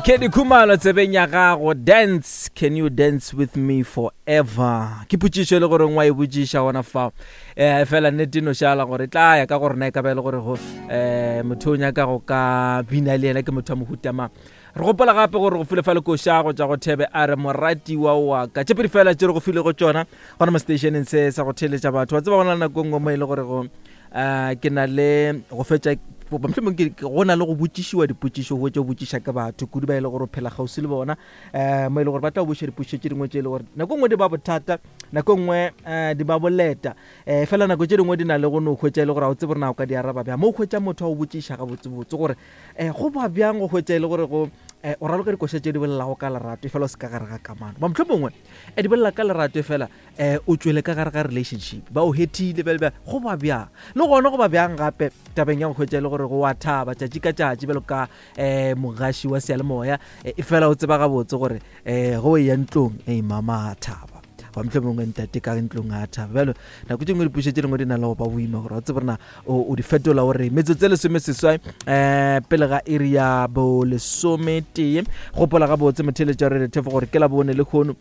Kedi Khumalo tsebeng ya gago dance can you dance with me forever ke potšišo e le gore ngwa e botšiša gona fao um fela nnete no šala gore e tla ya ka gore na e ka ba e le gore go um motho o nyaka go ka bina le yena ke motho wa mohutamang re gopola gape gore go file fa lekoša go tša go thebe a re moratiwa wa ka tše pedi fela tše re go file go tšona gona mo stationeng se sa go theeletša batho wa tseba gona le nako e nngwe mo e le gore go um ke na le go fetša mohlomong go na le go botšišiwa dipotšišo go tše botšiša ke batho kudu ba e le gore o phela kgauswi le bona um mo e le gore ba tla botšiša dipotšišo tše dingwe tše e le gore nako nngwe di ba bothata nako nngwe um di ba boleta um fela nako tše dingwe di na le go no hwetša e le gore ga o tsebe gore na o ka di araba bjang mo o hwetša motho a o botšiša gabotsebotse gore um go ba bjang go hwetša e le gore go um o raloka dikoša tše di bolelago ka lerato e fela o se ka gare ga kamano ba motlho mongwe um di bolela ka lerato e fela um o tswele ka gare ga relationship ba o hethile bjale bjang go ba bjang le gona go ba bjang gape tabeng ya go hwetša e le gore go wa thaba tšatši ka tšatši bjalo ka um mogaši wa seyalemoya e fela o tseba gabotse gore um go e ya ntlong e mama a thaba ba motlho mongwe ntate ka ntlong a thaba bjalo nako tše dingwe dipušo tše dingwe di na le go ba boima gore wa tsebe rena o di fetola gore metsotso e lesomeseswai um pele ga iri ya bolesometee gopola gabotse motheeletša wa radio thefo gore ke la bone le kgono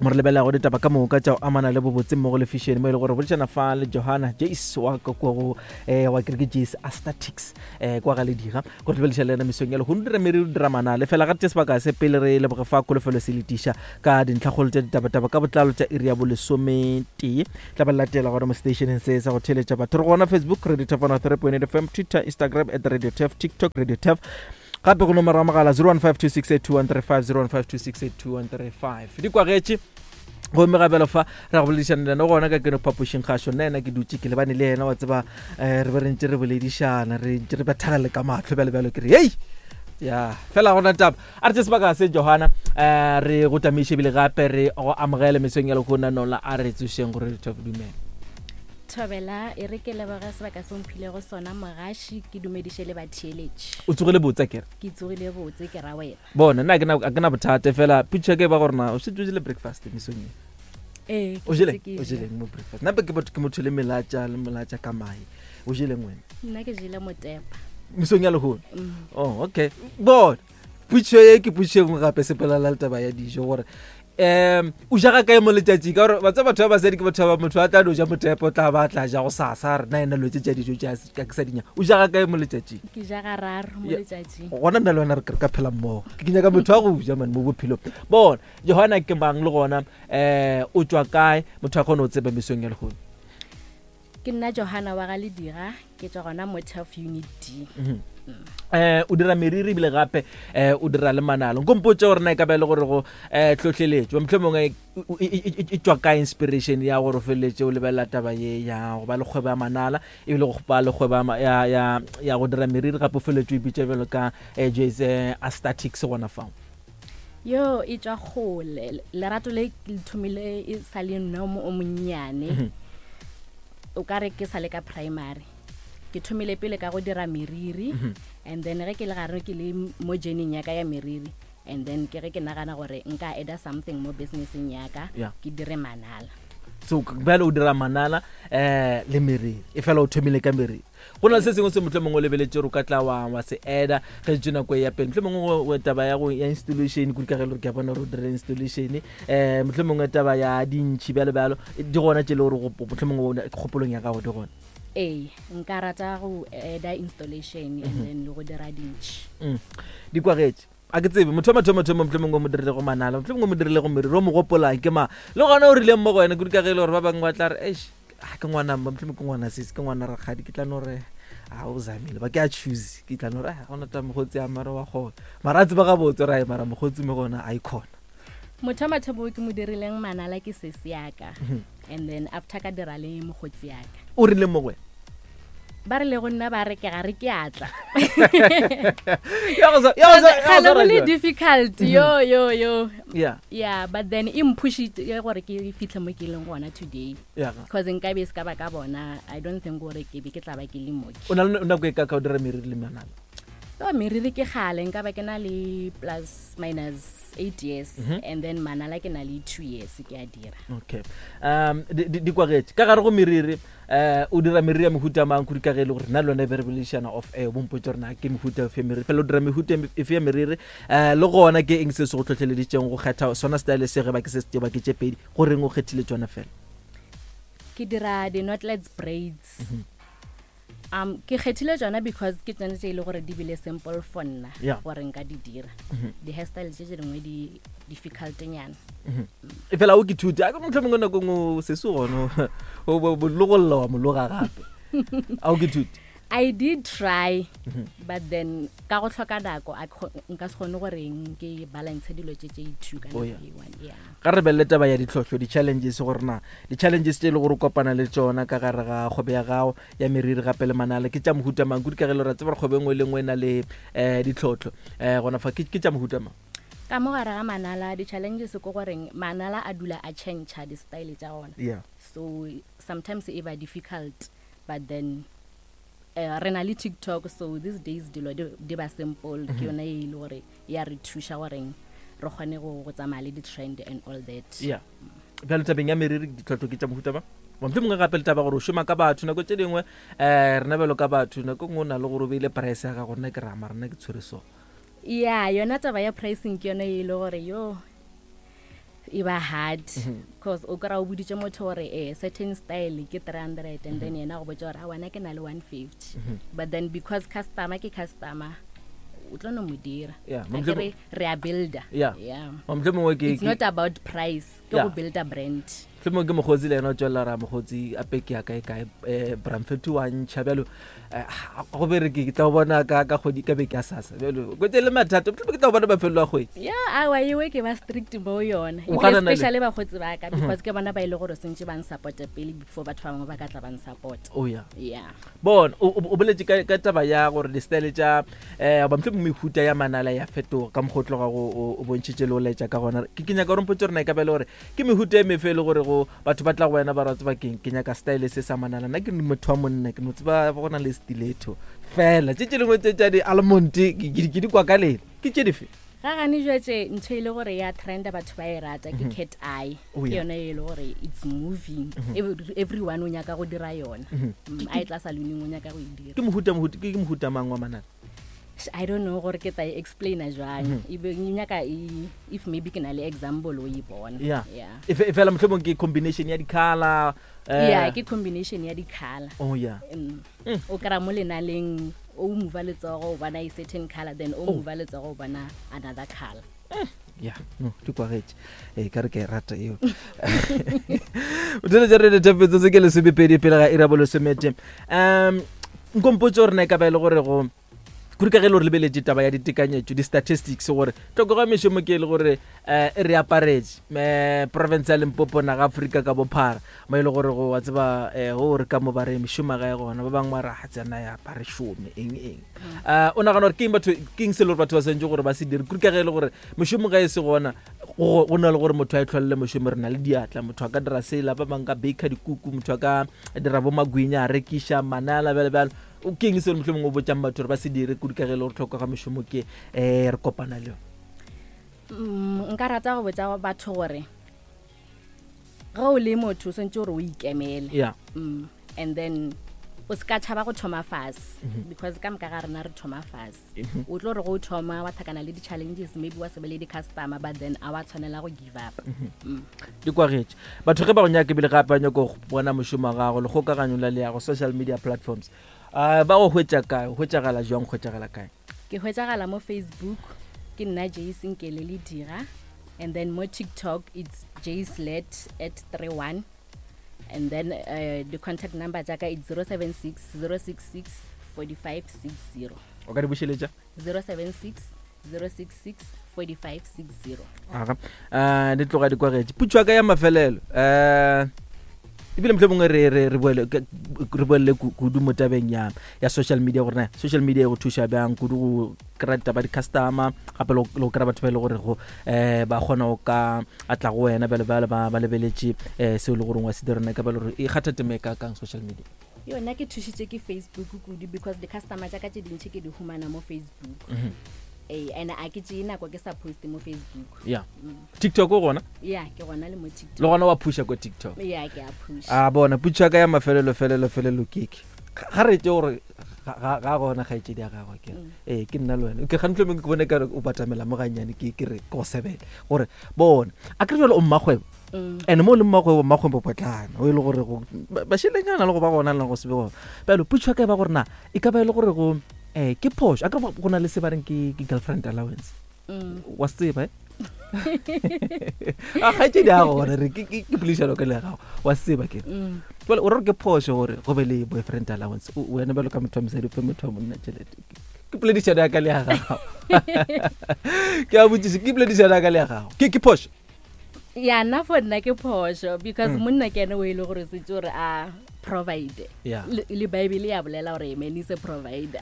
mo re lebelelago ditaba ka moka tša go amana le bobotse mmogo le fashion mo e le gore boledišana fa le johanna jace wa ka kua go um wa kereke jace astatics um kwa ga ledira go re lebelediša le yena mesong ya lehono dira meriri dira manale fela ga tše sebaka se pele re leboge fa kholofelo se letiša ka dintlhakgolo tša ditabataba ka botlalo tša iri ya bolesometee tla ba latela gona mo stationeng se sa go theeletša batho re gona facebook radio tef 103.8 fm twitter instagram at radio tef tiktok radio tef gape go nomoro ya mogala 0152682135 0152682135 di kwagetše gomme gabelo fa ra go boledišana le yena gona ka keno phapošing gašo nna ena ke dutše ke lebane le yena wa tseba um re be re ntse re boledišana re ntse re bethagale ka matlho bjalo bjalo ke re hei ya fela gona taba a re tse sebaka se johana um re go tamiše ebile gape re go amogele mesong ya lekgona nola a re tsošeng gore re thof dumela thobela e re ke leboge sebaka se mphilego sona mogaši ke dumediše le batheeletši o tsogile botse kere ke tsogile botse ke ra wena bona nna a ke na bothata fela picture ke ba gore na o šetše o jele breakfast mesong e ee o jeleng o jeleng mo breakfast nna ke batho ke motho le melatša le melatša ka mae o jeleng wena nna ke jele motepa mesong ya lehono mm. oh okay bona putšo ye ke putšo e nngwe gape sepelela le taba ya dijo gore um o ja ga kae mo letšatšing ka gore batsa batho ba basadi ke batho ba motho a tla no ja motepo tla ba tla ja go sasa re na ena lotse tša dijo tša ke sa dinya o ja ga kae mo letšatšing ke ja gararo mo letšatšing gona nna le wena re ka phela mmogo ke nyaka motho wa go ja mane mo bophelong bona johana ke mang le gona um o tswa kae motho a kgone go tseba mesong ya lehono Ke nna Johana wa ga Ledira, ke tswa gona mo Turf Unit D. Mm -hmm. eh o dira meriri ebile gape eh o dira le manalo nko mpotse gore na e ka ba e le gore go eh tlhotlheletšo motlho mongwe e tswa ka inspiration ya gore o feleletse o lebelela taba ye ya go ba le kgwebo ya manala ebile go ba le kgwebo ya ya ya go dira meriri gape o feleletse o ipitša bjalo ka eh, jase eh, aesthetics gona fao yo e tswa kgole lerato le le thomile e sa le nna o monnyane mhm. o ka re ke sa le ka primary ke thomile pele ka go dira meriri mhm. and then ge ke le gare ke le mo journeyng ya ka ya meriri and then ke ge ke nagana gore nka eda something mo businesseng ya ka ke dire manala so bjale o dira manala um le meriri e fela o thomile ka meriri go na le se sengwe se motlho mongwe o lebeletse gore o ka tla wa wa se eda ge tse nako e ya pele motlho mongwe taba ya go ya installation kudu ka ge le gore ke a bona gore o dira installation um motlho mongwe taba ya dintšhi bjalo bjalo di gona tse e le gore motlho mongwe kgopolong ya gago di gona ee nka rata go eda installation and mhm. then le go dira dintšhi mm. di kwagetše a ke tsebe motho wa mathomo-thomo motlho mongwe o mo dirile go manala motlho mongwe o mo dirile go meriri o mo gopolang ke mang le gona o rileng mo go wena kudu ka ge e le gore ba bangwe ba tla re eish a ke ngwana mma motlho ke ngwana sese ke ngwana rakgadi ke tla no re a o zamile ba ke a choose ke tla no re ga gona ta mogotsi a mara wa gona mara a tseba gabotse ra mara mogotsi mo gona a ikhona motho wa mathomo ke mo dirileng manala ke sesi yaka mhm. and then after ka dira le mogotsi yaka o rile mo go wena ba re le go nna ba re ke ga re ke atla gale go le difficult mhm. yo yo yo yeah yeah but then e mphushitse gore ke fitlhe mo ke leng gona today because nka be se ka ba ka bona i don't think gore ke be ke tla ba ke le moki o na le nako e ka ka o dira meriri le manala Yo, meriri ke gale nka ba ke na le plus minus 8 years mm -hmm. and then manala ke na le 2 years ke a dira. Okay. Di kwagetše ka gare go meriri, o dira meriri ya mehuta mang kudu ka ge e le gore nna le wena e be re boledišana off air, bompotse gore na ke mehuta efe ya meriri, fela o dira mehuta efe ya meriri, le gona ke eng se se go tlhotlheleditšeng go kgetha sona style se ge ba ke se se ba ke tše pedi, go reng o kgethile tšona fela? Ke dira di-knotless braids. Ke kgethile tsona because ke tsone tse e le gore di bile simple for nna gore nka di dira. Di-hairstyle tse tse dingwe di difficult nyana. E fela o ke thute a ke motlho mongwe nako ngwe sese gone o logolla wa mologa gape, a o ke thute? I did try, but then ka go tlhoka nako nka se kgone goreng ke balance dilo tse tse two ka nako e one. Yeah. Ga re belele taba ya ditlhohlo, di-challenges, gore na di-challenges tse e le gore o kopana le tsona ka gare ga kgwebo ya gago ya meriri gape le manala ke tša mohuta mang kudu, ka ge le ra tseba gore kgwebo e nngwe le nngwe e na le ditlhohlo, gona fa ke tša mohuta mang? Ka mo gare ga manala di-challenges ke goreng manala a dula a change di-style tša gona. So sometimes e ba difficult, but then re na le TikTok, so these days dilo di ba simple, ke yone e le gore ya re thuša goreng re kgone go tsamaya le di-trend and all that. Yeah. Bjalo tabeng ya meriri ditlhohlo ke tša mohuta ba mohlomongwe mongwe gape le taba gore o šoma ka batho nako tše dingwe, rena bjalo ka batho nako nngwe o na le gore o beile price ya gago, nna ke rama rena ke tshwere so. Ya, yona taba ya pricing ke yone e le gore yo e ba hard, because o kry-a o boditše motho gore certain style ke 300 and then yena go botsa gore a wena ke na le 150, but then because customer ke customer o tlo no mo dira. Akere re a builder. Yeah. Mohlomongwe ke It's not about price, ke go builder brand. Mohlomongwe ke mokgotsi le yena o tswelela ra mokgotsi a peke ya kae kae, bramfetu wa ntšha bjalo, go bereke ke tla bona ka kgwedi ka beke ya sasa bjalo kwetse le mathata, mohlomongwe ke tla bona mafelelo a kgwedi. Ya, awa ewe ke ba strict mo yona. O ganana le- Especially bakgotsi ba ka, because ke bona ba ile gore sentse ba nsupporte pele before batho ba bangwe ba ka tla ba nsupport. Oh yeah. Yeah. Bona o boletse ka taba ya gore di-style tša goba mohlomongwe mehuta ya manala ya fetoga ka mokgwa o tloga go o bontšhitše le o laetša ka gona. Ke nyaka gore mpotse gore na e ka ba e le gore ke mehuta e mefe e le gore go batho ba tla go wena ba ra tseba keng, ke nyaka style se sa manala, nna ke motho wa monna ke no tseba go na le stiletto fela, tše tše dingwe tše tša di-almond ke di kwa ka lena, ke tše dife? Ga gane jwetse ntho e le gore ya trenda batho ba e rata ke cat eye. Ke yone e le gore it's moving. Everyone o nyaka go dira yona. A e tla saloneng o nyaka go e dira. Ke mohuta mohuta ke mohuta mang wa manala? I don't know gore ke tla e explaina jwang. E be nyaka if maybe ke na le example o e bona. Yeah. Yeah. E fela mohlomong ke combination ya di-color. Yeah, ke combination ya di-color. Oh yeah. O kry-a mo lenaleng o mova letsogo o bona a certain color, then o mova letsogo o bona another color. Yeah, no, di kwagetše. Ee, ka re ke e rata eo. O theletša radio thapetso se ke 12 pele ga iri ya bolesomete. Nkompotse gore na e ka ba e le gore go kudu ka ge e le gore lebeletše taba ya ditekanyetšo di-statistics gore tlhokego ya mešomo ke e le gore e re aparetše province ya Limpopo naga Afrika ka bophara, mo e le gore go wa tseba go re ka mo ba re mešomo ga e gona, ba bangwe ba re ga tsena ya ba re šome eng eng. O nagana gore ke eng batho, ke eng se le gore batho ba swantse gore ba se dire kudu ka ge e le gore mešomo ga e se gona, go na le gore motho a e tlholele mošomo, re na le diatla, motho a ka dira sela, ba bangwe ka baker dikuku, motho a ka dira bo magwinya a rekiša manala bjalo bjalo. O ke eng se mohlomongwe o botsang batho gore ba se dire kudu ka ge e le gore tlhoko ga mešomo ke re kopana le yone? Nka rata go botsa batho gore ge o le motho o swantse gore o ikemele. And then o se ka tšhaba go thoma fase, because ka moka ga rena re thoma fase. O tlo re go thoma wa thakana le di-challenges, maybe wa se be le di-customer, but then a wa tshwanela go give up. Di kwagetše batho ge ba go nyaka ebile gape ba nyaka go bona mošomo wa gago le kgokaganyo la leago social media platforms, ba go hwetša kae, o hwetšagala jwang, hwetšagala kae? Ke hwetšagala mo Facebook ke nna Jace Nkele le dira, and then mo TikTok it's jacelet at 31, and then the contact number jaaka it's 076 066 4560. O ka di bušeletša? 076 066 4560. Aga, di tloga di kwagetše. Putšo ya ka ya mafelelo, ebile mohlomongwe re boelele kudu mo tabeng ya social media, gore na social media e go thuša bjang kudu go kry-a ditaba di-customer, gape le go kry-a batho ba e le gore go ba kgona go ka atla go wena bjalo bjalo ba lebeletše seo e le goreng wa se dira, na e ka ba le gore e kgatha tema e ka kang social media? Yona ke thušitše ke Facebook kudu because di-customer tša ka tše dintšhi ke di humana mo Facebook. Ee, and a ke tšee nako ke sa poste mo Facebook. Ya, TikTok o gona? Ya, ke gona le mo TikTok. Le gona wa phusha ko TikTok? Ya, ke a phusha. A bona, putšo ya ka ya mafelelo felelo felelo keke ga re tše gore ga gona kgaetšedi ya gagwe ke ee, ke nna le wena ke gantlo mengwe ke bone kare o batamela mo gannyane, ke re ke go sebele gore bona a kere jale o mmakgwebo and mo o le mmakgwebo, mmakgwebo potlana o e le gore bašelenyana le go ba gona le go se be gona. Bjalo putšo ya ka e ba gore na e ka ba e le gore go ke phošo a kere go na le se ba reng ke girlfriend allowance? Wa se tseba, eh? A kgaetšedi ya gona re ke poledišano ka le ya gago, wa se tseba ke jale o re ke phošo gore go be le boyfriend allowance, wena bjalo ka motho wa mosadi o fe motho wa monna tšhelete? Ke poledišano ya ka le ya gago, ke a botšiša, ke poledišano ya ka le ya gago, ke phošo? Ya, nna for nna ke phošo because monna ke ene o e le gore setse gore a provide. Le Bible ya bolela gore man is a provider,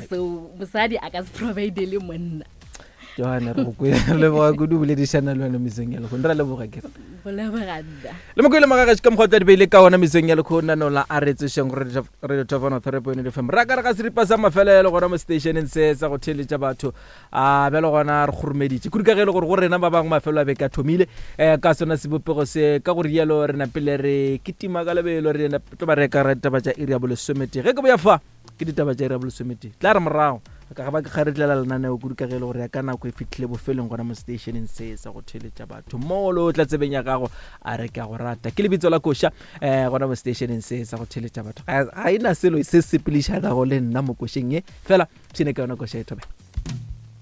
so mosadi a ka se provide le monna. Johanna, re go kwele, re leboga kudu boledišana le wena mesong ya lekgono, re a leboga ke go leboga nna. Le mokwele magagaši ka mokgwa o tla di beile ka ona mesong ya lekgono nanola a re tsošeng go Radio Top 103.8 FM, ra ka re ga seripa sa mafelelo gona mo stationeng se sa go theeletša batho. A bjalo gona re kgoromeditše kudu ka ge e le gore go rena ba bangwe mafelo a beke a thomile ka sona sebopego se. Ka go rialo re napile re kitima ka lebelo, re tlo ba re ka ra ditaba tša iri ya bolesometee. Ge ke boya fa ke ditaba tša iri ya bolesometee, tla re morago ka ga ba ke kgaretlela lenaneo kudu ka ge e le gore ya ka nako e fihlile bofelong gona mo stationeng se sa go theeletša batho. Molo o tla tsebeng ya gago a re ke a go rata ke lebitso la koša gona mo stationeng se sa go theeletša batho. Ga e na selo se sepelišanago le nna mo košeng ye, fela pshine ka yona koša e thobela.